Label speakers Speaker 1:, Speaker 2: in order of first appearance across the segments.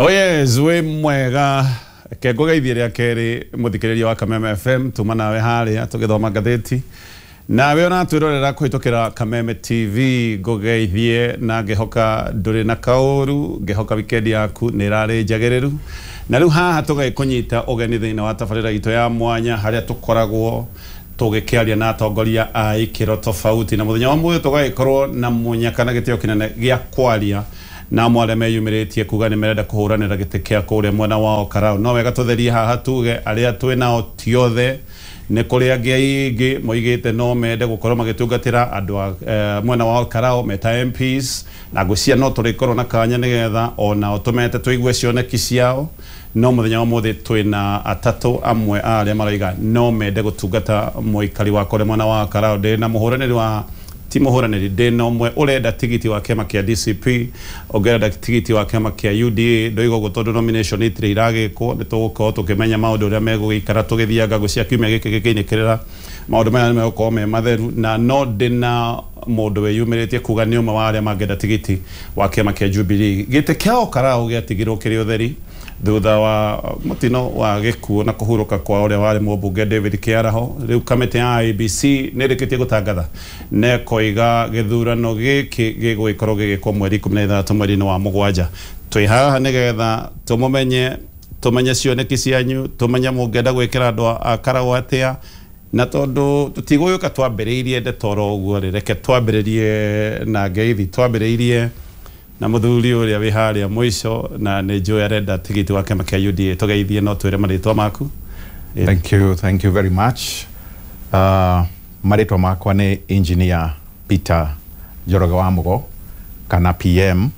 Speaker 1: Oh yes, wĩ mwega ke ngũgeithie rĩa kerĩ mũthikĩrĩria wa Kameme FM tuma nawe harĩa tũgĩthoma ngathĩti nawe ona twĩrorera kũhĩtũkĩra Kameme TV ngũgeithie na ngĩhoka ndũrĩ na kaũru, ngĩhoka weekend yaku nĩ ĩrarĩ njagĩrĩru. Na rĩu haha tũgagĩkũnyita ũgeni thĩinĩ wa tabarĩra itũ ya mwanya harĩa tũkoragwo tũgĩkĩaria na atongoria a ikĩro tofauti, na mũthenya wa mũthĩ tũgagĩkorwo na mũnyaka na gĩtĩo kĩnene gĩa kwaria na amwe arĩa meyumĩrĩtie kuga nĩ merenda kũhũranĩra gĩtĩ kĩa kũrĩa mwena wa Olkalau. No wega tũtherie haha tuge arĩa twĩ nao ti othe, nĩ kũrĩ angĩ aingĩ moigĩte no mende gũkorwo magĩtungatĩra andũ a mwena wa Olkalau meta MPs, na ngwĩciria no tũrĩkorwo na kanya nĩgetha onao tũmete tũigue cioneki ciao. No mũthenya wa ũmũthĩ twĩna atatũ amwe a arĩa maroiga no mende gũtungata mũikari wa kũrĩa mwena wa Olkalau. Ndĩ na mũhũranĩri wa ti mũhũranĩri, ndĩ na ũmwe ũrenda tigiti wa kĩama kĩa DCP, ũngĩ ũrenda tigiti wa kĩama kĩa UDA. Ndoiga ũguo tondũ nomination itirĩ iragĩkwo, nĩ tũgũkorwo tũkĩmenya maũndũ ũrĩa megũgĩikara tũgĩthianga ngũcia kiumia gĩkĩ gĩkĩinĩkĩrĩra. Maũndũ maya nĩ megũkorwo me matheru, na no ndĩ na mũndũ wĩyumĩrĩtie kuga nĩ ũmwe wa arĩa mangĩenda tigiti wa kĩama kĩa Jubilee. Gĩtĩ kĩa Olkalau gĩatigirwo kĩrĩ ũtheri thutha wa mũtino wa gĩkuũ na kũhurũka kwa ũrĩa warĩ mũmbunge David Kĩaraho. Rĩu kamĩtĩ ya IEBC nĩ ĩrĩkĩtie gũtangatha na ĩkoiga gĩthurano gĩkĩ gĩgũgĩkorwo gĩgĩkwo mweri 16 mweri-inĩ wa mũgwanja. Twĩ haha nĩgetha tũmũmenye, tũmenye cioneki cianyu, tũmenye mũngĩenda gwĩkĩra andũ a Karau atĩa, na tondũ tũtigũgĩũka twambĩrĩirie ndeto oro ũguo rĩ, reke twambĩrĩrie na ngeithi. Twambĩrĩirie na mũthuri ũrĩa wĩ harĩa mũico, na nĩ njũĩ arenda tigiti wa kĩama kĩa UDA. Tũgeithie no twĩre marĩtwa maku.
Speaker 2: Thank you very much. Marĩtwa makwa nĩ Engineer Peter Njoroge wa Mugo kana PM.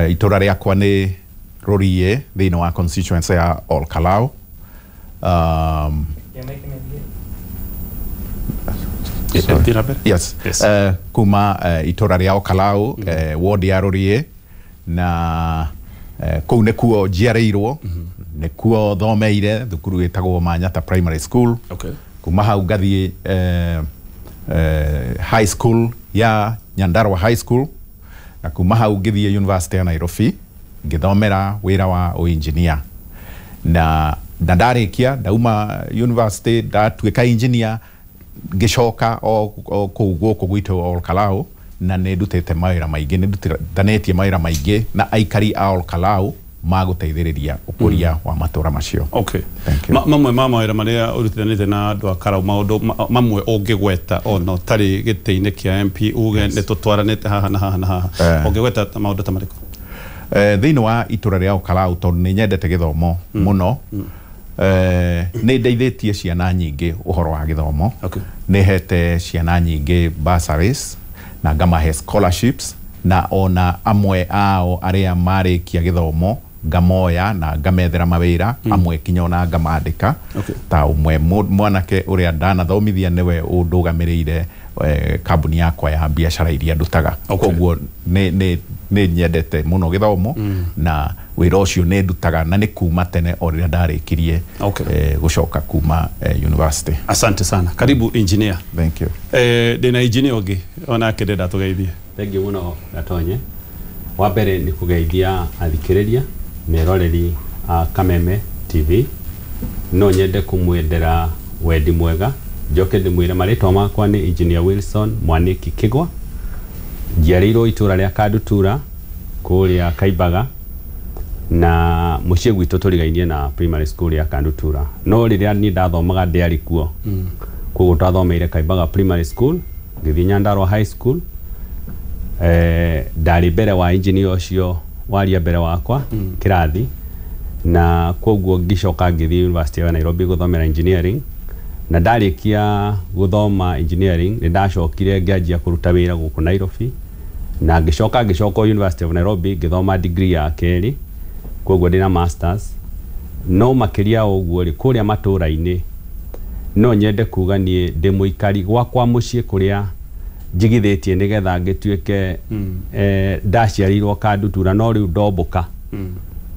Speaker 2: Itũra rĩakwa nĩ Rũriĩ thĩinĩ wa constituency ya Olkalau. Yes.
Speaker 1: Yes.
Speaker 2: Kuma itũra rĩa Olkalau, ward ya Rũriĩ, na kũu nĩkuo njiarĩirwo, nĩkuo thomeire thukuru ĩtagwo Manyata Primary School. Kuma hau ngathiĩ high school ya Nyandarua High School, na kuma hau ngĩthiĩ University ya Nairobi ngĩthomera wĩra wa ũinjinia, na ndarĩkia ndauma university ndatuĩka engineer, ngĩcoka o kũu gũkũ gwitũ Olkalau, na nĩ ndutĩte mawĩra maingĩ, nĩ ndutithanĩtie mawĩra maingĩ na aikari a Olkalau magũteithĩrĩria ũkũria wa matũra macio.
Speaker 1: Okay.
Speaker 2: Thank you.
Speaker 1: Mamwe ma mawĩra marĩa ũrutithanĩtie na andũ a Karau, maũndũ mamwe ũngĩgweta ona ũtarĩ gĩtĩ-inĩ kĩa MP uge nĩ tũtwaranĩte haha na haha na haha, ũngĩgweta maũndũ ta marĩkũ?
Speaker 2: Thĩinĩ wa itũra rĩa Olkalau, tondũ nĩ nyendete gĩthomo mũno, nĩ ndeithĩtie ciana nyingĩ ũhoro wa gĩthomo. Nĩ hete ciana nyingĩ bursaries na ngamahe scholarships, na ona amwe ao arĩa marĩkia gĩthomo ngamoya na ngamethera mawĩra, amwe kinya ona ngamandĩka. Ta ũmwe mwanake ũrĩa ndanathomithia nĩwe ũndũgamĩrĩire kambuni yakwa ya biacara iria ndutaga. Koguo nĩ nyendete mũno gĩthomo, na wĩra ũcio nĩ ndutaga na nĩ kuma tene o rĩrĩa ndarĩkirie gũcoka kuma university.
Speaker 1: Asante sana. Karibu engineer.
Speaker 2: Thank you.
Speaker 1: Ndĩna engineer ũngĩ onake ndĩrenda tũgeithie.
Speaker 3: Thank you mũno Gatonye. Wa mbere nĩ kũgeithia athikĩrĩria meroreri a Kameme TV. No nyende kũmwendera wendi mwega, njoke ndĩmwĩre marĩtwa makwa nĩ Engineer Wilson Mwaniki Kigwa. Njiarĩirwo itũra rĩa Kandutura kũrĩa Kaimbaga, na mũciĩ gwitũ tũrigainie na primary school ya Kandutura, no rĩrĩa niĩ ndathomaga ndĩarĩ kuo. Koguo twathomeire Kaimbaga Primary School, ngĩthiĩ Nyandarua High School. Ndarĩ mbere wa engineer ũcio waria mbere wakwa kĩrathi, na koguo ngĩcoka ngĩthiĩ University ya Nairobi gũthomera engineering, na ndarĩkia gũthoma engineering nĩ ndacokire ngĩanjia kũruta wĩra gũkũ Nairobi, na ngĩcoka University of Nairobi ngĩthoma degree ya kerĩ, koguo ndĩna masters. No makĩria ũguo rĩ, kũrĩa matũra-inĩ no nyende kuga niĩ ndĩ mũikari gwakwa mũciĩ kũrĩa njigithĩtie nĩgetha ngĩtuĩke ndaciarĩirwo Kandutura, no rĩu ndombũka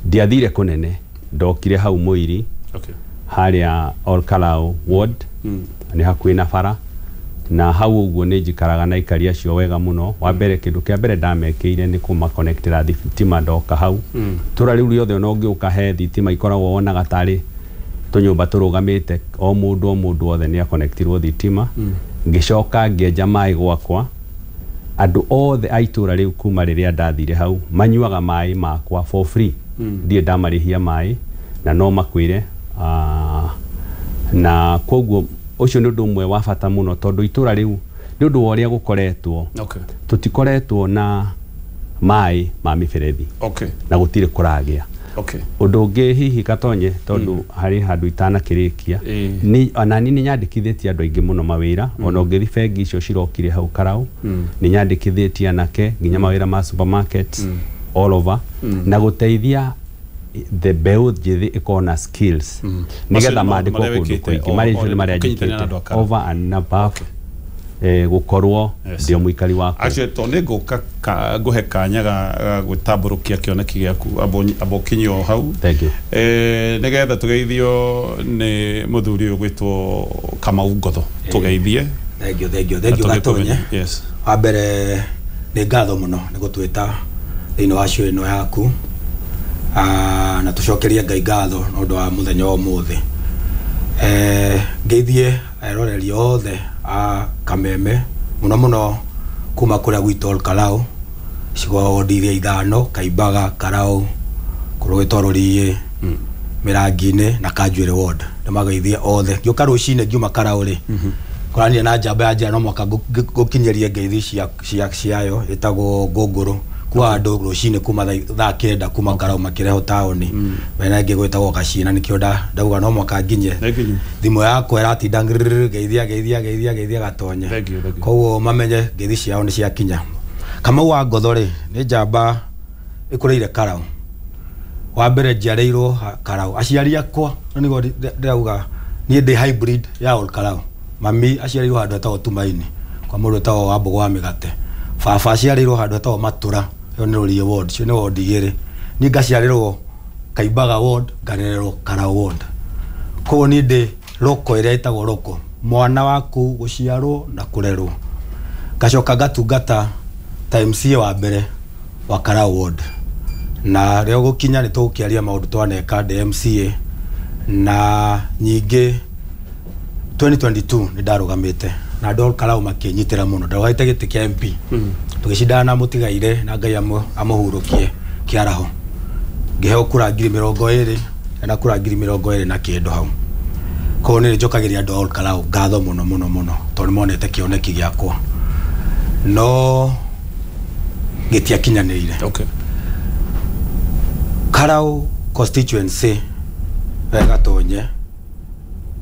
Speaker 3: ndiathire kũnene, ndokire hau Mũiri, harĩa Olkalau ward, nĩ hakuhĩ na bara. Na hau ũguo nĩ njikaraga na aikari acio wega mũno. Wa mbere kĩndũ kĩa mbere ndamekĩire nĩ kũmakonectĩra thitima ndoka hau. Itũra rĩu rĩothe ona ũngĩũka he thitima ikoragwo wonaga tarĩ tũnyũmba tũrũgamĩte, o mũndũ othe nĩ akonectirwo thitima. Ngĩcoka ngĩenja maĩ gwakwa, andũ othe a itũra rĩu kuma rĩrĩa ndathire hau manyuaga maĩ makwa for free. Ndirĩ ndamarĩhia maĩ na no makwĩre. Na koguo ũcio nĩ ũndũ ũmwe wa bata mũno tondũ itũra rĩu nĩ ũndũ wa ũrĩa gũkoretwo, tũtikoretwo na maĩ ma mĩberethi na gũtirĩ kũragĩa. Ũndũ ũngĩ hihi Gatonye, tondũ harĩ handũ itanakĩrĩkia, ni onani nĩ nyandĩkithĩtie andũ aingĩ mũno mawĩra. Ona ũngĩthiĩ bengi icio cirokire hau Karau, nĩ nyandĩkithĩtie anake nginya mawĩra ma supermarkets all over, na gũteithia the mbeũ njĩthĩ ĩkorwo na skills nĩgetha mandĩkwo kũndũ kũingĩ. Marĩa nĩ marĩa njĩkĩte over and above gũkorwo ndio mũikari wakwa.
Speaker 1: Actually to nĩ ngũka ngũhe kanya ga gwĩtambũrũkia kĩoneki gĩaku amba ũkinyio hau.
Speaker 3: Thank you.
Speaker 1: Nĩgetha tũgeithio nĩ mũthuri ũyũ gwĩtwo Kamau Ngotho, tũgeithie.
Speaker 4: Thank you, thank you, thank you Gatonye.
Speaker 1: Yes.
Speaker 4: Wa mbere nĩ ngatho mũno nĩ gũtwĩta thĩinĩ wa show ĩno yaku, na tũcokerie Ngai ngatho nĩ ũndũ wa mũthenya wa ũmũthĩ. Ngeithie eroreri othe a Kameme mũno mũno kuma kũrĩa gwitũ Ol Kalou, icigo wodi iria ithano, Kaimbaga, Karau, kũrũgĩtwo Rũriĩ, Mĩrangi-inĩ na Kanjuĩrĩ ward. Ndĩmageithie othe. Ngĩũka rũcinĩ ngiuma Karau rĩ, koranire na njamba ya njĩra no mwaka ngũkinyĩrie ngeithi ciayo ĩtagwo Ngũngũrũ. Kwa andũ rũcinĩ kuma thaa 9 kuma Karau makĩrehwo taũni, mena ĩngĩ gwĩtagwo Gacina, nĩkĩo ndauga no mwaka nginye. Thimũ yakwa ĩratinda ngeithia ngeithia ngeithia ngeithia Gatonye. Koguo mamenye ngeithi ciao nĩ ciakinya. Kamau wa Ngotho rĩ, nĩ njamba ĩkũrĩire Karau. Wa mbere njiarĩirwo Karau. Aciari akwa nĩguo ndĩrauga niĩ ndĩ hybrid ya Ol Kalou. Mami aciarĩirwo handũ hetagwo Tumaini kwa mũndũ wĩtagwo Wambũgũ wa Mĩgate. Baba aciarĩirwo handũ hetagwo Matũra, ĩyo nĩ Rũriĩ ward, icio nĩ ward igĩrĩ. Niĩ ngaciarĩrwo Kaimbaga ward, ngarererwo Karau ward. Koguo niĩ ndĩ roko ĩrĩa ĩtagwo roko, mwana waku gũciarwo na kũrerwo. Ngacoka ngatungata ta MCA wa mbere wa Karau ward. Na rĩo gũkinya nĩ tũgũkĩaria maũndũ twaneka ndĩ MCA, na nyingĩ 2022 nĩ ndarũgamĩte na andũ a Ol Kalou makĩnyitĩra mũno. Ndarũgamĩte gĩtĩ kĩa MP, tũgĩcindana na mũtigaire na Ngai amũhurũkie kĩaraho. Ngĩheo kura 20,000 na kura 20,000 na kĩndũ hau. Koguo nĩ njokagĩria andũ a Ol Kalou ngatho mũno mũno mũno tondũ nĩmonete kĩoneki gĩakwa, no gĩtiakinyanĩire. Karau constituency Gatonye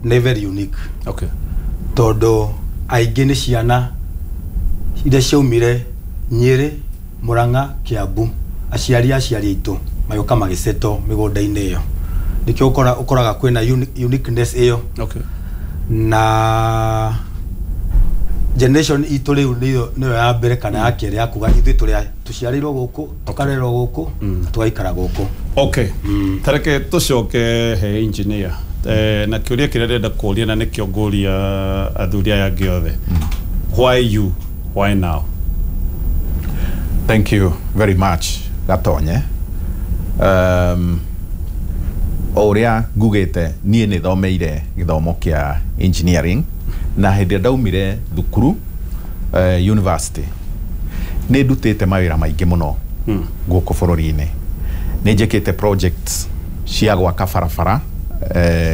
Speaker 4: nĩ very unique. Tondũ aingĩ nĩ ciana iria ciaumire Nyĩrĩ, Murang'a, Kiambu, aciari aitũ magĩũka magĩsettle mĩgũnda-inĩ ĩyo. Nĩkĩo ũkoraga kwĩna uniqueness ĩyo. Na generation itũ rĩu nĩyo ya mbere kana ya kerĩ ya kuga ithuĩ tũrĩa tũciarĩirwo gũkũ, tũkarerwo gũkũ, tũgaikara gũkũ.
Speaker 1: Tareke tũcoke he engineer. Na kĩũria kĩrĩa ndĩrenda kũũria na nĩkĩo ngũria athuri aya angĩ othe. Why you? Why now?
Speaker 2: Thank you very much, Gatonye. O ũrĩa ngugĩte niĩ nĩ thomeire gĩthomo kĩa engineering, na hĩndĩ ĩrĩa ndaumire thukuru university nĩ ndutĩte mawĩra maingĩ mũno gũkũ bũrũri-inĩ. Nĩ njĩkĩte projects cia gwaka barabara,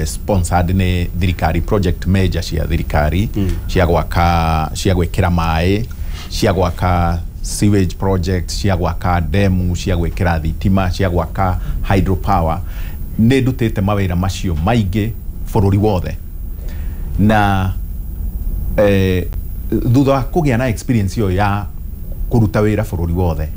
Speaker 2: sponsored nĩ thirikari, project major cia thirikari, cia gwaka, cia gwĩkĩra maĩ, cia gwaka sewage project, cia gwaka demu, cia gwĩkĩra thitima, cia gwaka hydropower. Nĩ ndutĩte mawĩra macio maingĩ bũrũri wothe. Na thutha wa kũgĩa na experience ĩyo ya kũruta wĩra bũrũri wothe,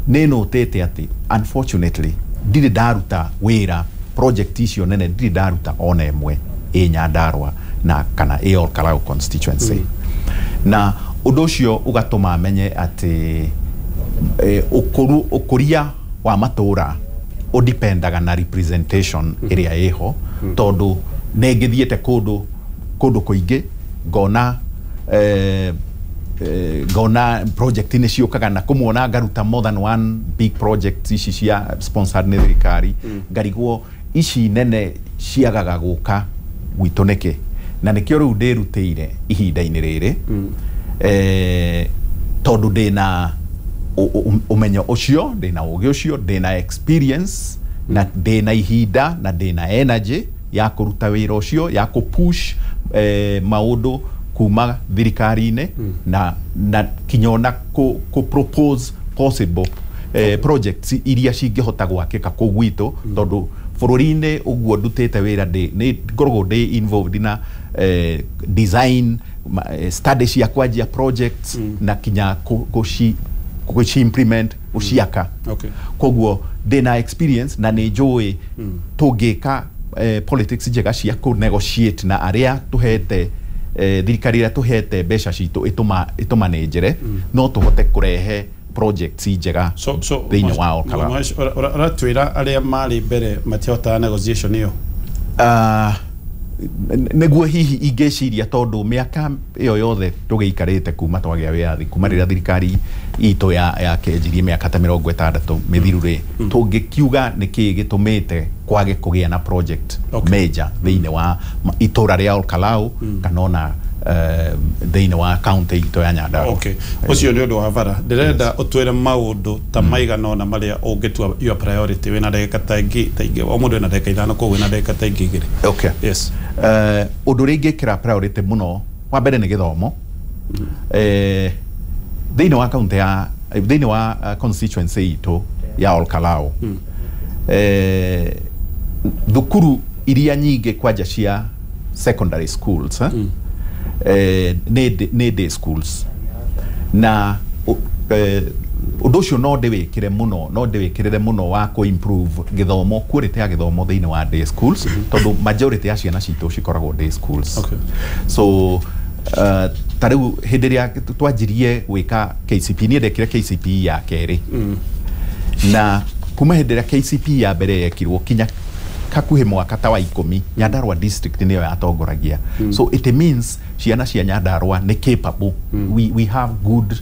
Speaker 2: nĩ nũtĩte atĩ unfortunately ndirĩ ndaruta wĩra project icio nene, ndirĩ ndaruta ona ĩmwe ĩ Nyandarua na kana ĩ Ol Kalou constituency. Na ũndũ ũcio ũgatũma menye atĩ ũkũria wa matũra ũdipendaga na representation ĩrĩa ĩho, tondũ nĩ ngĩthiĩte kũndũ kũingĩ ngona Ngona project nĩ ciũkaga na kũmwona ngaruta more than one big project ici cia sponsored nĩ thirikari, ngarigwo ici nene ciagaga gũka gwitũ nĩkĩ, na nĩkĩo rĩu ndĩrutĩire ihinda-inĩ rĩrĩ, tondũ ndĩna ũmenyo ũcio, ndĩna ũgĩ ũcio, ndĩna experience na ndĩna ihinda na ndĩna energy ya kũruta wĩra ũcio, ya kũ push maũndũ kuma thirikari-inĩ, na kinya ona kũ propose possible projects iria cingĩhota gwakĩka kũu gwitũ, tondũ bũrũri-inĩ ũguo ndutĩte wĩra nĩ ngoragwo ndĩ involved na design study cia kwanjia projects na kinya kũci implement, gũciaka. Koguo ndĩna experience na nĩ njũĩ tũngĩka politics njega cia kũ negotiate na arĩa tũhete thirikari ĩrĩa tũhete mbeca citũ ĩtũmanenjere, no tũhote kũrehe projects njega thĩinĩ wa Olkalau.
Speaker 1: Ũratwĩra arĩa marĩ mbere matihotaga negotiation ĩyo?
Speaker 2: Nĩguo hihi ingĩciria, tondũ mĩaka ĩyo yothe tũgĩikarĩte kuma twagĩa wĩyathi, kuma rĩrĩa thirikari itũ ya kĩanjirie mĩaka ta 60 mĩthiru rĩ, tũngĩkiuga nĩkĩĩ gĩtũmĩte kwage kũgĩa na project major thĩinĩ wa itũra rĩa Olkalau kana ona thĩinĩ wa county itũ ya Nyandarua.
Speaker 1: Okay, ũcio nĩ ũndũ wa bara. Ndĩrenda ũtwĩre maũndũ ta maigana ũna marĩa ũngĩtua your priority. Wĩna ndagĩka ta ingĩ, o mũndũ ena ndagĩka 5, koguo wĩna ndagĩka ta ingĩ 2.
Speaker 2: Okay.
Speaker 1: Yes.
Speaker 2: Ũndũ ũrĩa ingĩkĩra priority mũno wa mbere nĩ gĩthomo. Thĩinĩ wa county ya thĩinĩ wa constituency itũ ya Olkalau, thukuru iria nyingĩ kwanja cia secondary schools nĩ day schools, na ũndũ ũcio no ndĩwĩkĩre mũno, no ndĩwĩkĩrĩre mũno wa kũ improve gĩthomo, quality ya gĩthomo thĩinĩ wa day schools, tondũ majority ya ciana citũ cikoragwo day schools. So ta rĩu hĩndĩ ĩrĩa twanjirie gwĩka KCPE, niĩ ndekire KCPE ya kerĩ, na kuma hĩndĩ ĩrĩa KCPE ya mbere yekirwo kinya hakuhĩ mwaka ta wa 10, Nyandarua district nĩyo yatongoragia. So it means ciana cia Nyandarua nĩ capable. We have good,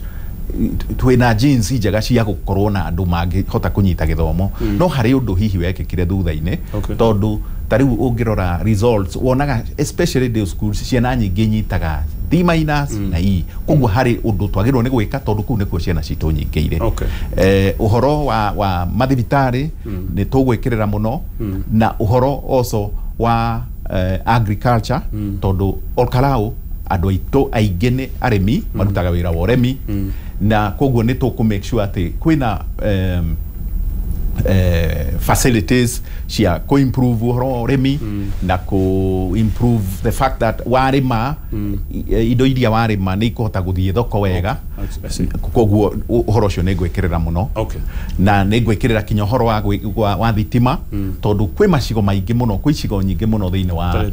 Speaker 2: twĩna genes njega cia gũkorwo na andũ mangĩhota kũnyita gĩthomo. No harĩ ũndũ hihi wekĩkire thutha-inĩ, tondũ ta rĩu ũngĩrora results wonaga especially day schools ciana nyingĩ nyitaga D minus na E. Koguo harĩ ũndũ twagĩrĩirwo nĩ gwĩka, tondũ kũu nĩkuo ciana citũ nyingĩ irĩ. Ũhoro wa mathibitarĩ nĩ tũgwĩkĩrĩra mũno, na ũhoro also wa agriculture, tondũ Olkalau andũ aitũ aingĩ nĩ arĩmi, marutaga wĩra wa ũrĩmi, na koguo nĩ tũkũ make sure atĩ kwĩna facilities cia kũ improve ũhoro wa ũrĩmi, na kũ improve the fact that warĩma indo iria warĩma nĩ ikũhota gũthiĩ thoko wega. Koguo ũhoro ũcio nĩ ngwĩkĩrĩra mũno. Na nĩ ngwĩkĩrĩra kinya ũhoro wa thitima, tondũ kwĩ macigo maingĩ mũno, kwĩ icigo nyingĩ mũno thĩinĩ wa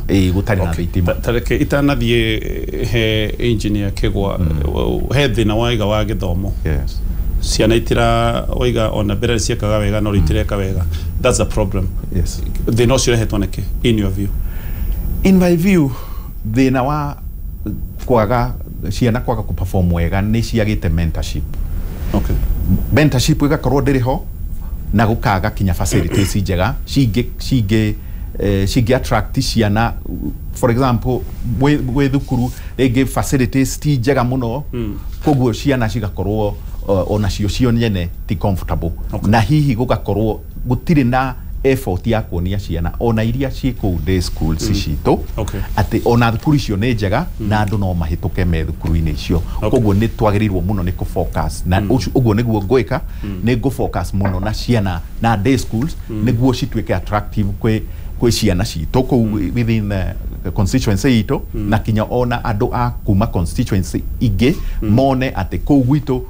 Speaker 2: gũtarĩ na thitima.
Speaker 1: Tareke itanathiĩ he engineer Kĩgwa, he thĩna waiga wa gĩthomo. Ciana itira waiga ona mbere ciekaga wega no itireka wega. That's a problem.
Speaker 2: Yes.
Speaker 1: Thĩna ũcio ũrehetwo nĩkĩ in your view?
Speaker 2: In my view, thĩna wa kwaga ciana kwaga kũ perform wega nĩ ciagĩte mentorship. Mentorship ĩgakorwo ndĩrĩ ho, na gũkaga kinya facilities njega cingĩ attract ciana. For example, gwĩ thukuru rĩngĩ facilities ti njega mũno, koguo ciana cigakorwo onacio cio nyene ti comfortable. Na hihi gũgakorwo gũtirĩ na effort ya kuonia ciana ona iria ciĩ kũu day schools citũ atĩ ona thukuru icio nĩ njega na andũ no mahĩtũke me thukuru-inĩ icio. Koguo nĩ twagĩrĩirwo mũno nĩ kũ focus na ũguo nĩguo ngwĩka, nĩ ngũ focus mũno na ciana na day schools nĩguo cituĩke attractive kwĩ ciana citũ kũu within the constituency itũ, na kinya ona andũ a kuma constituency ingĩ mone atĩ kũu gwitũ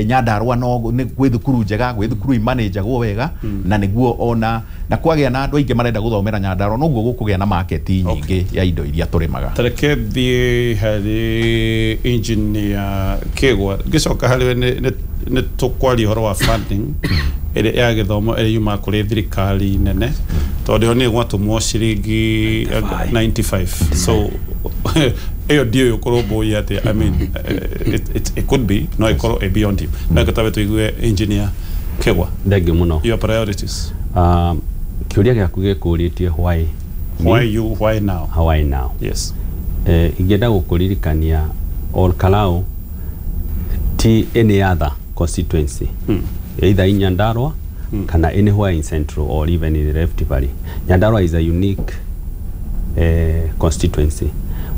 Speaker 2: Nyandarua no nĩ gwĩ thukuru njega, gwĩ thukuru imanĩnjagwo wega, na nĩguo ona na kwagĩa na andũ aingĩ marenda gũthomera Nyandarua, noguo gũkũgĩa na market nyingĩ ya indo iria tũrĩmaga.
Speaker 1: Tareke thiĩ harĩ engineer Kĩgwa, ngĩcoka harĩ we nĩ tũkwaria ũhoro wa funding ĩrĩa ya gĩthomo ĩrĩa yumaga kũrĩ thirikari nene, tondũ ĩyo nĩ ĩgwatũmwo ciringi 95, so Ĩyo ndiũĩ ũkũrũmbũiya atĩa. I mean, it could be no ĩkorwo ĩ beyond you. No ĩgĩtabe tũigue Engineer Kegwa.
Speaker 3: Thengiũ mũno.
Speaker 1: Your priorities.
Speaker 3: Kĩũria gĩaku gĩkũrĩtie why me?
Speaker 1: Why you, why now?
Speaker 3: Why now?
Speaker 1: Yes.
Speaker 3: Ingĩenda gũkũririkania Ol Kalou ti any other constituency, either in Nyandarua kana anywhere in Central or even in the Rift Valley. Nyandarua is a unique constituency.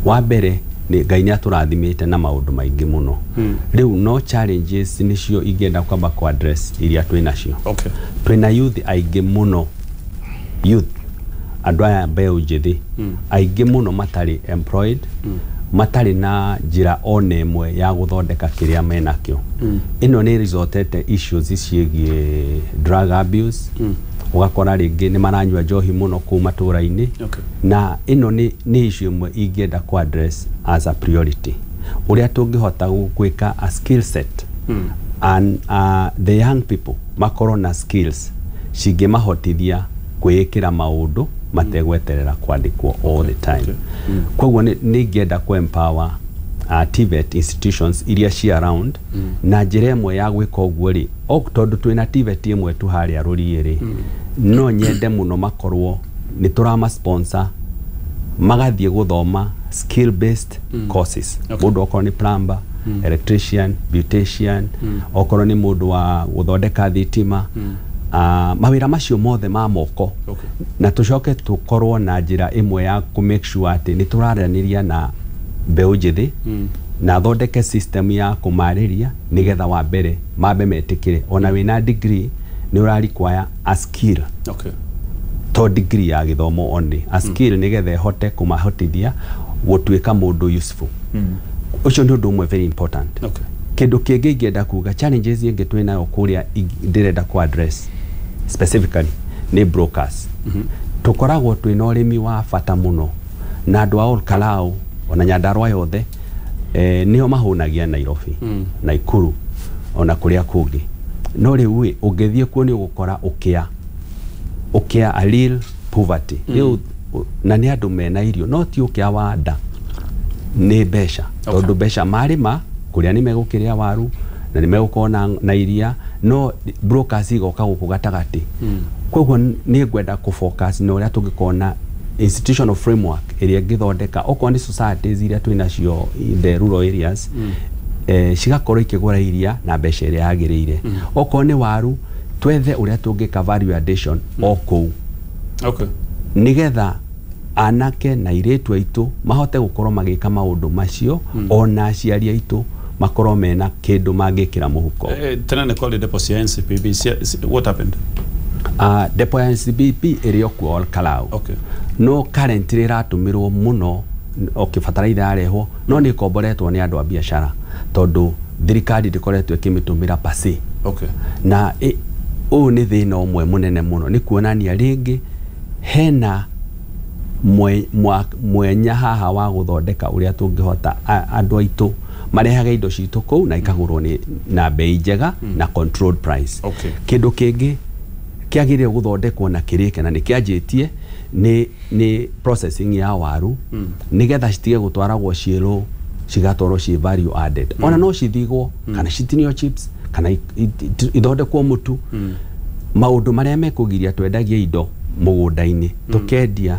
Speaker 3: Wa mbere nĩ Ngai nĩ atũrathimĩte na maũndũ maingĩ mũno. Rĩu no challenges nĩcio ingĩenda kwamba ku address iria twĩ nacio. Twĩna youth aingĩ mũno, youth, andũ aya mbeũ njĩthĩ aingĩ mũno matarĩ employed, matarĩ na njĩra ona ĩmwe ya gũthondeka kĩrĩa menakĩo. Ĩno nĩ resultete issues ciĩgiĩ drug abuse, ũgakora rĩngĩ nĩ maranyua njohi mũno kũu matũra-inĩ. Na ĩno nĩ issue ĩmwe ingĩenda ku address as a priority, ũrĩa tũngĩhota gwĩka a skill set and the young people makorwo na skills cingĩmahotithia kwĩĩkĩra maũndũ mategweterera kwandĩkwo all the time. Koguo nĩ ingĩenda ku empower TVET institutions iria ci around. Na njĩra ĩmwe ya gwĩka ũguo rĩ, tondũ twĩna TVET ĩmwe tu harĩa Rũriĩ rĩ, no nyende mũno makorwo nĩ tũrama sponsor magathiĩ gũthoma skill based courses. Mũndũ okorwo nĩ plumber, electrician, beautician, okorwo nĩ mũndũ wa gũthondeka thitima, mawĩra macio mothe ma moko. Na tũcoke tũkorwo na njĩra ĩmwe ya kũ make sure atĩ nĩ tũraranĩria na mbeũ njĩthĩ na thondeke system ya kũmarĩria, nĩgetha wa mbere mambe metĩkĩre ona wĩna degree nĩ ũra require a skill, to degree ya gĩthomo only, a skill, nĩgetha ĩhote kũmahotithia gũtuĩka mũndũ useful. Ũcio nĩ ũndũ ũmwe very important. Kĩndũ kĩngĩ ingĩenda kuga, challenges ĩngĩ twĩ nayo kũrĩa ndĩrenda ku address specifically nĩ brokers. Tũkoragwo twĩna ũrĩmi wa bata mũno na andũ a Ol Kalou ona Nyandarua yothe, nĩo mahũnagia Nairobi, Naikuru ona kũrĩa kũngĩ. No rĩu ĩ, ũngĩthiĩ kuo nĩ ũgũkora ũkĩa, a real poverty rĩu, na nĩ andũ mena irio no ti ũkĩa wa nda, nĩ mbeca, tondũ mbeca marĩma kũrĩa nĩ megũkĩrĩa waru na nĩ megũkorwo na iria, no brokers igoka gũkũ gatagatĩ. Koguo nĩ ngwenda kũ focus na ũrĩa tũngĩkorwo na institutional framework ĩrĩa ĩngĩthondeka okorwo nĩ societies iria twĩ nacio in the rural areas, cigakorwo ikĩgũra iria na mbeca ĩrĩa yagĩrĩire. Okorwo nĩ waru, twethe ũrĩa tũngĩka value addition o kũu, nĩgetha anake na airĩtu aitũ mahote gũkorwo magĩka maũndũ macio, ona aciari aitũ makorwo mena kĩndũ mangĩkĩra mũhuko.
Speaker 1: Tena nĩ kwarĩ depo cia NCPB what happened?
Speaker 3: Depo ya NCPB ĩrĩ o kuo Ol Kalou. No currently ĩratũmĩrwo mũno, okay, bataraitha yarehwo, no nĩ ĩkomboretwo nĩ andũ a biacara tondũ thirikari ndĩkoretwo ĩkĩmĩtũmĩra per se. Na ũyũ nĩ thĩna ũmwe mũnene mũno, nĩ kuonania rĩngĩ hena mwenya haha wa gũthondeka ũrĩa tũngĩhota andũ aitũ marehage indo citũ kũu na ikagũrwo nĩ na bei njega na controlled price. Kĩndũ kĩngĩ kĩagĩrĩire gũthondekwo na kĩrĩke na nĩ kĩanjĩtie nĩ processing ya waru, nĩgetha citige gũtwaragwo ciĩ raw, cigatwarwo ciĩ value added. Ona no cithigwo kana citinio chips kana ithondekwo mũtu, maũndũ marĩa mekũgiria twendagie indo mũgũnda-inĩ tũkendia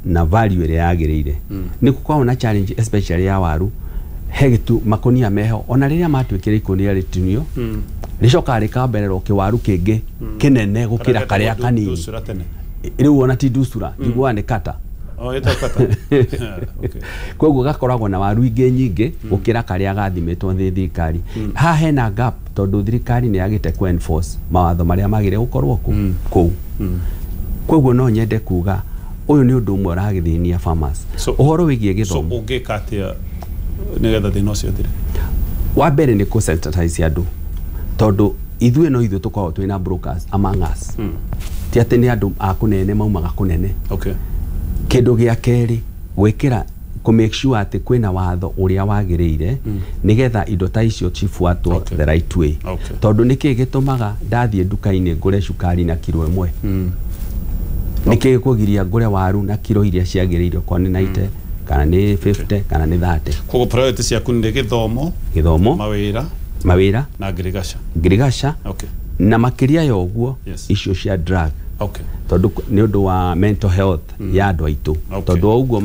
Speaker 3: na value ĩrĩa yagĩrĩire. Nĩ gũkoragwo na challenge especially ya waru, he gĩtu makũnia meho, ona rĩrĩa matuĩkĩra ikũnia rĩtinio, rĩcokaga rĩkambererwo kĩwaru kĩngĩ kĩnene gũkĩra karĩa kanini.
Speaker 1: Ndusura tene.
Speaker 3: Rĩu ona ti ndusura, njiguaga nĩ kata.
Speaker 1: Oh, ĩtagwo kata.
Speaker 3: Koguo gakoragwo na waru ingĩ nyingĩ gũkĩra karĩa gathimĩtwo nĩ thirikari. Haha hena gap tondũ thirikari nĩ yagĩte ku enforce mawatho marĩa magĩrĩire gũkorwo kũu. Koguo no nyende kuga ũyũ nĩ ũndũ ũmwe ũragĩthĩnia farmers. Ũhoro wĩgiĩ
Speaker 1: So
Speaker 3: gĩthomo.
Speaker 1: Ũngĩka atĩa nĩgetha thĩna ũcio ũthire?
Speaker 3: Wa mbere nĩ kũ sensitize andũ, tondũ ithuĩ no ithuĩ tũkoragwo twĩna brokers among us, ti atĩ nĩ andũ a kũnene maumaga kũnene. Kĩndũ gĩa kerĩ, gwĩkĩra kũ make sure atĩ kwĩna watho ũrĩa wagĩrĩire nĩgetha indo ta icio cibuatwo the right way. Tondũ nĩkĩ gĩtũmaga ndathiĩ nduka-inĩ ngũre cukari na kiro ĩmwe? Nĩkĩ gĩkũgiria ngũre waru na kiro iria ciagĩrĩire, okorwo nĩ 90 kana nĩ 50 kana nĩ 30.
Speaker 1: Koguo priority ciaku nĩ gĩthomo, mawĩra na ngirigaca. Okay.
Speaker 3: Na makĩria ya ũguo icio cia drug.
Speaker 1: Okay.
Speaker 3: Tondũ nĩ ũndũ wa mental health ya andũ aitũ. Tondũ o ũguo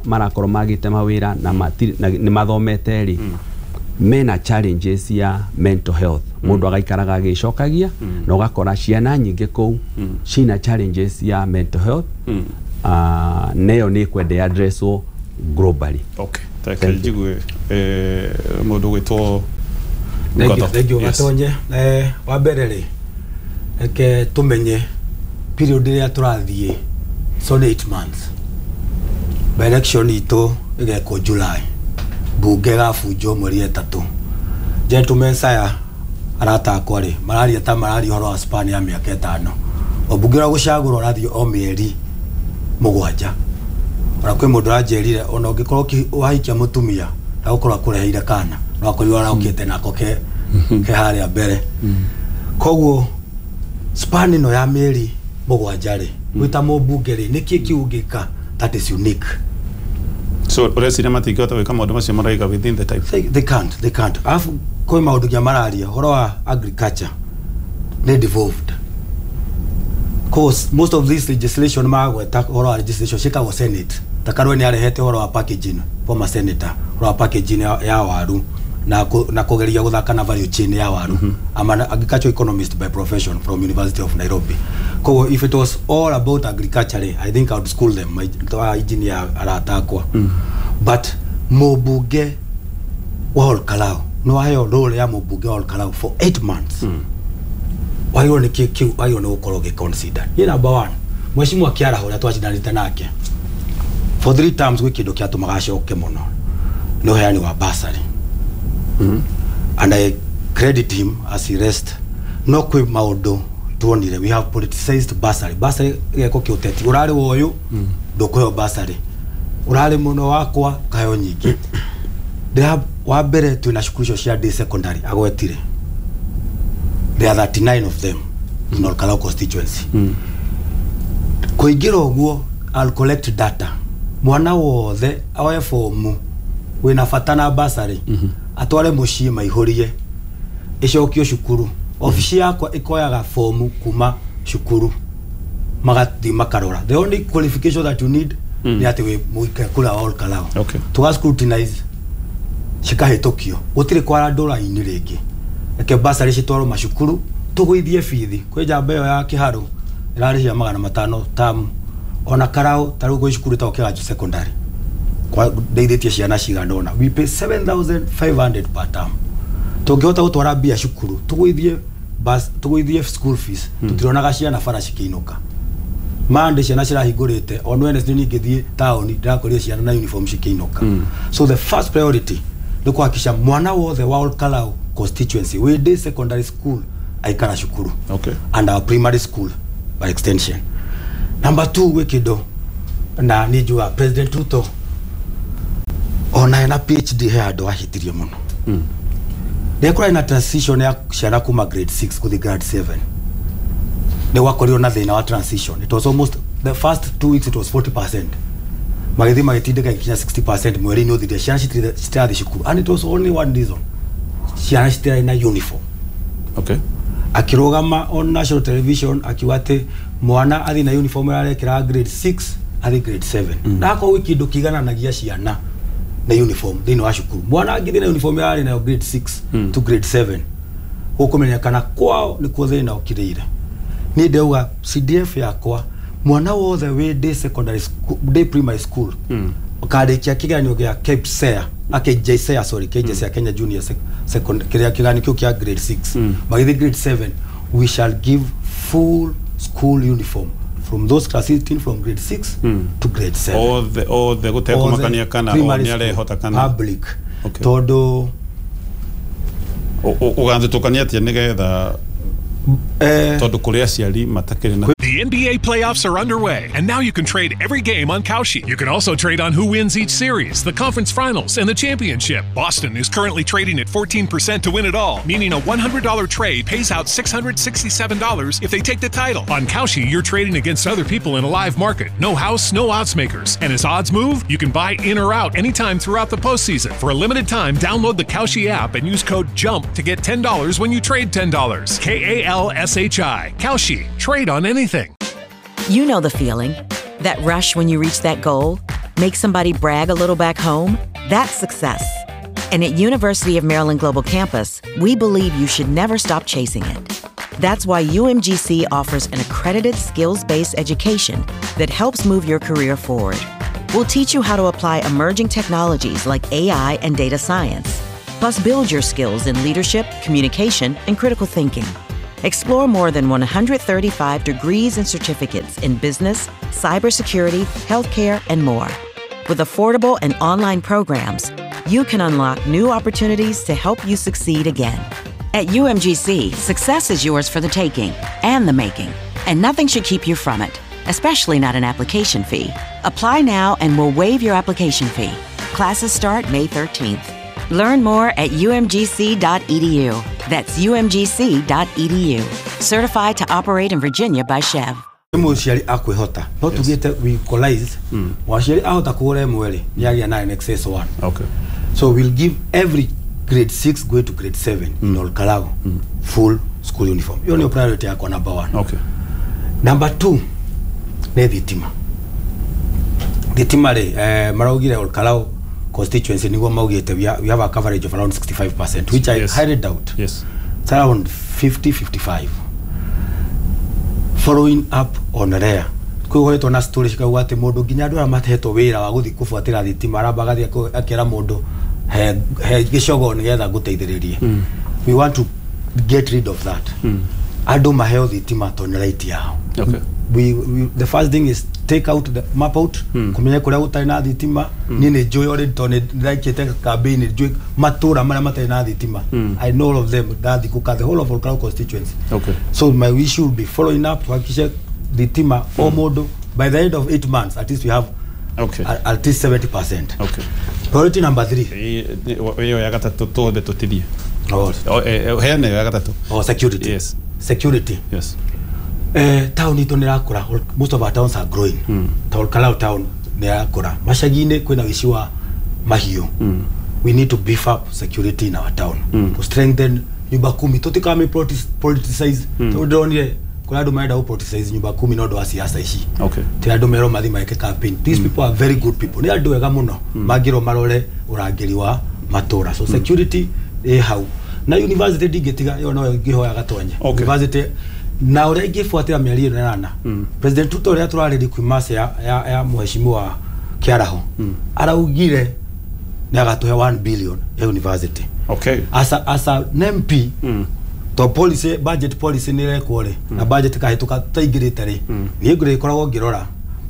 Speaker 3: marakorwo magĩte mawĩra na nĩ mathomete rĩ, mena challenges ya mental health. Mũndũ agaikaraga agĩcokagia na ũgakora ciana nyingĩ kũu cina challenges ya mental health. Neyo nĩ kwenda addresswo globally.
Speaker 1: Okay. Thank you. Mũndũ gwĩtwo
Speaker 4: Thank you Gatonye. Wa mbere rĩ, reke tũmenye period ĩrĩa tũrathiĩ, so 8 months. By election itũ ĩgekwo July, bunge ĩgabunjwo mweri 3. Gentlemen saya arata akwa rĩ, mararia ta mararia ũhoro wa span ya mĩaka 5. Mũmbunge ũrĩa gũcagũrwo arathiĩ o mĩeri 7. Ona kwĩ mũndũ ũranjĩrire ona ũngĩkorwo wahikia mũtumia ndagũkorwo akũreheire kana, no akorirwo araũkĩte nako ke harĩa mbere. Koguo span ĩno ya mĩeri 7 rĩ, gwĩta mũmbunge rĩ, nĩkĩ kĩu ũngĩka that is unique?
Speaker 1: So ũreciria matingĩhota gwĩka maũndũ macio maraiga within the time?
Speaker 4: They can't. Alafu kwĩ maũndũ nginya mararia ũhoro wa agriculture nĩ devolved. Cause most of this legislation magweta ũhoro wa legislation ciĩkagwo Senate. Ta Karue nĩ arehete ũhoro wa packaging, former senator, ũhoro wa packaging ya waru na kũgeria gũthaka na value chain ya waru. I'm an agricultural economist by profession from University of Nairobi. Koguo if it was all about agriculture, I think I would school them, my engineer arata akwa. But mũmbunge wa Olkalou no aheo role ya mũmbunge wa Olkalou for 8 months. Wagĩrĩirwo nĩ kĩ wagĩrĩirwo nĩ gũkorwo ũgĩ-consider. Niĩ number 1, mheshimiwa Kĩaraho ũrĩa twacindanĩte nake for 3 terms gwĩ kĩndũ kĩatũmaga acoke mũno nĩ ũheani wa bursary. And I credit him as he rest. No kwĩ maũndũ tuonire, we have politicized bursary. Bursary gĩko kĩa ũteti, ũrarĩ wa ũyũ ndũkũheo bursary, ũrarĩ mũno wakwa kaheo nyingĩ. Wa mbere twĩna cukuru icio cia day secondary agwetire, there are 39 of them in Olkalou constituency. Kũingĩra ũguo I'll collect data, mwana wothe oe fomu wĩna bata na bursary atware mũciĩ maihũrie ĩcokio cukuru. Ofici yakwa ĩkoyaga fomu kuma cukuru magathiĩ makarora. The only qualification that you need nĩ atĩ wĩ mũikare kũrĩa wa Olkalou. Tũga scrutinize cikahĩtũkio, gũtirĩ kwara ndũra-inĩ rĩngĩ. Reke bursary citwarwo macukuru tũgũithie bithi. Kwĩ njamba ĩyo ya Kĩharũ ĩrarĩhia 500 tamu. Ona Karau ta rĩu gwĩ cukuru ĩtagwo Kĩganjo secondary ndeithĩtie ciana cigana ũna, we pay 7500 per term. Tũngĩhota gũtwara mbia cukuru tũgũithie bus, tũgũithie school fees, tũtironaga ciana bara cikĩinũka. Mande ciana cirahingũrĩte on Wednesday ningĩthiĩ taũni ndĩrakorire ciana na uniform cikĩinũka. So the first priority nĩ kũhakikisha mwana wothe wa Olkalou constituency wĩ day secondary school aikara cukuru.
Speaker 1: Okay.
Speaker 4: And our primary school by extension. Number 2, gwĩ kĩndũ na nĩ njũa President Ruto ona ena PhD he andũ ahĩtirie mũno. Rĩrĩa kũrarĩ na transition ya ciana kuma grade 6 gũthiĩ grade 7, nĩ gwakorirwo na thĩna wa transition. It was almost the first 2 weeks it was 40%. Magĩthiĩ magĩtindĩka gĩkinya 60% mweri-inĩ ũthirire, ciana citirathiĩ cukuru. And it was only one reason, ciana citirarĩ na uniform.
Speaker 1: Okay.
Speaker 4: Akĩrũgama on national television akiuga atĩ mwana athiĩ na uniform ĩrarekĩra grade 6 athiĩ grade 7. Na akorwo gwĩ kĩndũ kĩigananagia ciana na uniform thĩinĩ wa cukuru, mwana angĩthiĩ na uniform ĩrarĩ nayo grade 6 to grade 7, gũkũmenyekana kwao nĩkuo thĩna ũkirĩire. Niĩ ndauga CDF yakwa mwana wothe wĩ day secondary school, day primary school ũkarĩkia kĩgeranio gĩa KPSEA, KJSEA, sorry, KJSEA, Kenya Junior Second, kĩrĩa kĩgeranio kĩu kĩa grade 6 magĩthiĩ grade 7, we shall give full school uniform from those class 18 from grade 6 to grade 7.
Speaker 1: Othe gũtekũmakania kana o nĩ arehota kana
Speaker 4: public. Tondũ
Speaker 1: ũgathutũkania atĩa nĩgetha tondũ kũrĩ aciari matakĩrĩ na
Speaker 5: The NBA playoffs are underway, and now you can trade every game on Kalshi. You can also trade on who wins each series, the conference finals, and the championship. Boston is currently trading at 14% to win it all, meaning a $100 trade pays out $667 if they take the title. On Kalshi, you're trading against other people in a live market. No house, no odds makers. And as odds move, you can buy in or out anytime throughout the postseason. For a limited time, download the Kalshi app and use code JUMP to get $10 when you trade $10. K-A-L-S-H-I. Kalshi. Trade on anything.
Speaker 6: You know the feeling. That rush when you reach that goal, make somebody brag a little back home, that's success. And at University of Maryland Global Campus, we believe you should never stop chasing it. That's why UMGC offers an accredited skills-based education that helps move your career forward. We'll teach you how to apply emerging technologies like AI and data science, plus build your skills in leadership, communication, and critical thinking. Explore more than 135 degrees and certificates in business, cybersecurity, healthcare, and more. With affordable and online programs, you can unlock new opportunities to help you succeed again. At UMGC, success is yours for the taking and the making, and nothing should keep you from it, especially not an application fee. Apply now and we'll waive your application fee. Classes start May 13th. Learn more at umgc.edu. That's umgc.edu. Certified to operate in Virginia by SHEV.
Speaker 4: Mũciari akwĩhota no tugĩte we equalize mũciari ahota kũgũra ĩmwe rĩ nĩ agĩa na in excess one.
Speaker 1: Okay.
Speaker 4: So we'll give every grade 6 going to grade 7 in Olkalou full school uniform. Hiyo ndio priority yakwa number 1.
Speaker 1: Okay.
Speaker 4: Number 2 nĩ thitima. Thitima rĩ maraugire Olkalou constituency niguo maugite we have a coverage of around 65%, which I highly doubt.
Speaker 1: Yes.
Speaker 4: It's around 50-55. Following up on rare kwĩhoetwo na story cikauga atĩ mũndũ nginya andũ arĩa matehetwo wĩra wa gũthiĩ kũbuatĩra thitima aramba agathiĩ akĩra mũndũ he gĩcogo nĩgetha ngũteithĩrĩrie. We want to get rid of that. Andũ maheo thitima tondũ nĩ right yao.
Speaker 1: Okay.
Speaker 4: We the first thing is take out the map out kumenya kuria gutari na thitima. Ni ni njui already to ni ndaikite campaign njui matura maria matari na thitima. I know all of them ndathi kuka the whole of Olkalou constituency.
Speaker 1: Okay.
Speaker 4: So my wish will be following up tuhakikishe thitima o mundu by the end of 8 months at least we have
Speaker 1: okay
Speaker 4: at least 70%.
Speaker 1: Okay.
Speaker 4: Priority number 3
Speaker 1: iyo ya gatatu tuothe tutithie.
Speaker 4: Oh,
Speaker 1: heane ya gatatu.
Speaker 4: Oh, security.
Speaker 1: Yes.
Speaker 4: Security.
Speaker 1: Yes.
Speaker 4: Town itu nĩ ĩrakũra. Most of our towns are growing. Ta Olkalou town nĩ ĩrakũra. Macagi-inĩ kwĩna ũici wa mahiũ. We need to beef up security in our town. To strengthen nyumba kumi. Tũtikame politicize. Tondũ ndĩronire kũrĩ andũ marenda gũ politicize nyumba kumi nĩ ũndũ wa siasa ici.
Speaker 1: Okay.
Speaker 4: Ti andũ merwo mathiĩ meke campaign. These people are very good people. Nĩ andũ ega mũno. Mangĩrwo marore ũrangĩri wa matũra. So security ĩ hau. Na university ndingĩtiga ĩyo no ngĩhoya gatonye.
Speaker 1: Okay.
Speaker 4: University na ũrĩa ingĩbuatĩra mĩario ĩno ĩrana President Ruto ũrĩa tũrarĩria kuuma ya mheshimiwa Kĩaraho araugire nĩ agatũhe 1 billion ya university.
Speaker 1: Okay.
Speaker 4: As a MP to policy budget policy nĩ ĩrekwo rĩ na budget kahĩtũka tũtaingĩrĩte rĩ niĩ ngũrĩkoragwo ngĩrora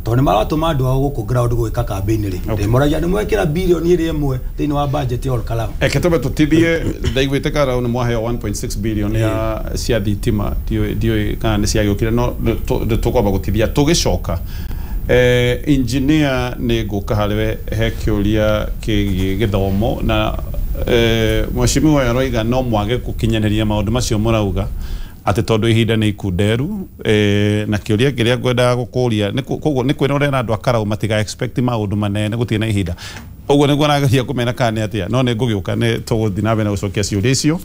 Speaker 4: tondũ nĩ maratũma andũ ao gũkũ ground gwĩka campaign rĩ ndĩmoragia nĩ mwekĩra bilioni ĩrĩa ĩmwe thĩinĩ wa budget ya Olkalou.
Speaker 1: Eke tũbe tũtithie ndaiguĩte Karau nĩ mwaheo 1.6 billion ya cia thitima ndiũĩ kana nĩ ciagĩũkire no tũkwamba gũtithia tũgĩcoka. Engineer nĩ ngũka harĩwe he kĩũria kĩgiĩ gĩthomo na mheshimiwa aroiga no mwage gũkinyanĩria maũndũ macio mũrauga atĩ tondũ ihinda nĩ ikunderu na kĩũria kĩrĩa ngwendaga gũkũria koguo nĩ kwĩrorera andũ a Karau matiga expect maũndũ manene gũtirĩ na ihinda ũguo nĩguo arageria kũmera kana nĩ atĩa no nĩ ngũgĩũka nĩ tũgũthiĩ na mbere na gũcokia ciũria icio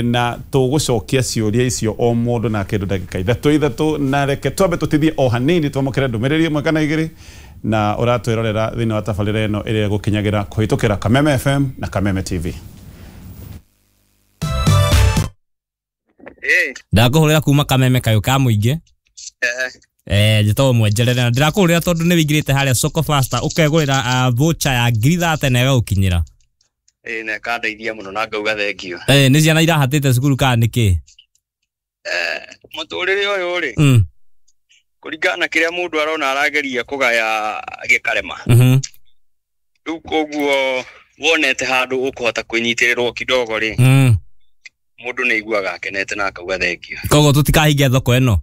Speaker 1: na tũgũcokia ciũria icio o mũndũ na kĩndũ ndagĩka ithatũ na reke twambe tũtithie o hanini twamũkĩre ndũmĩrĩri ĩmwe kana igĩrĩ na ũratwĩrorera thĩinĩ wa tabarĩra ĩno ĩrĩa ĩgũkinyagĩra kũhĩtũkĩra Kameme FM na Kameme TV.
Speaker 7: Ndakũhũrĩra kuma Kameme kayũ ka mũingĩ. Njĩtagwo Mwenjerere na ndĩrakũhũrĩra tondũ nĩ wĩingĩrĩte harĩa Soko Faster ũkegũrĩra voucher ya 30,000 na ĩgagũkinyĩra.
Speaker 8: Na ĩkandeithia mũno na ngauga thengio.
Speaker 7: Nĩ ciana irahatĩte cukuru kana nĩkĩ?
Speaker 8: Mũtũrĩre ũyũ rĩ kũringana na kĩrĩa mũndũ arona arageria kũgaya gĩkarema. Rĩu koguo wonete handũ ũkũhota kwĩnyitĩrĩrwo kidogo rĩ mũndũ nĩ aiguaga akenete na akauga thengio.
Speaker 7: Koguo tũtikahinge thoko ĩno.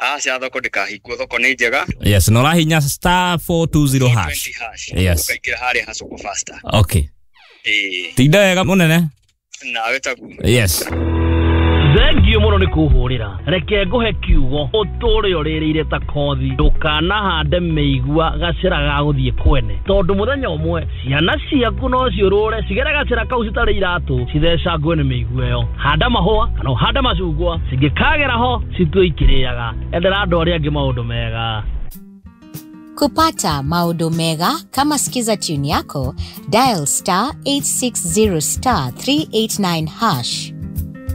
Speaker 8: Aca thoko ndĩkahingwo, thoko nĩ njega.
Speaker 7: Yes, na ũrahinya star 420 hash.
Speaker 8: 20 hash.
Speaker 7: Yes.
Speaker 8: Ũkaingĩra harĩa ha soko faster.
Speaker 7: Okay.
Speaker 8: Ĩĩ.
Speaker 7: Tinda wega mũnene.
Speaker 8: Nawe taguo.
Speaker 7: Yes.
Speaker 9: Thengio mũno nĩ kũhũrĩra. Reke ngũhe kiugo ũtũre ũrĩrĩire ta kothi. Ndũkanahande mĩigua gacĩra ga gũthiĩ kwene, tondũ mũthenya ũmwe ciana ciaku no ciũrũre cigere gacĩra kau citarĩ iratũ, cithecangwe nĩ mĩigua ĩyo. Handa mahũa kana ũhande macungwa, cingĩkagera ho citue ikĩrĩaga. Endera andũ arĩa angĩ maũndũ mega.
Speaker 10: Kupata maodo mega kama Skiza tune yako, dial star 860 star 389 hash.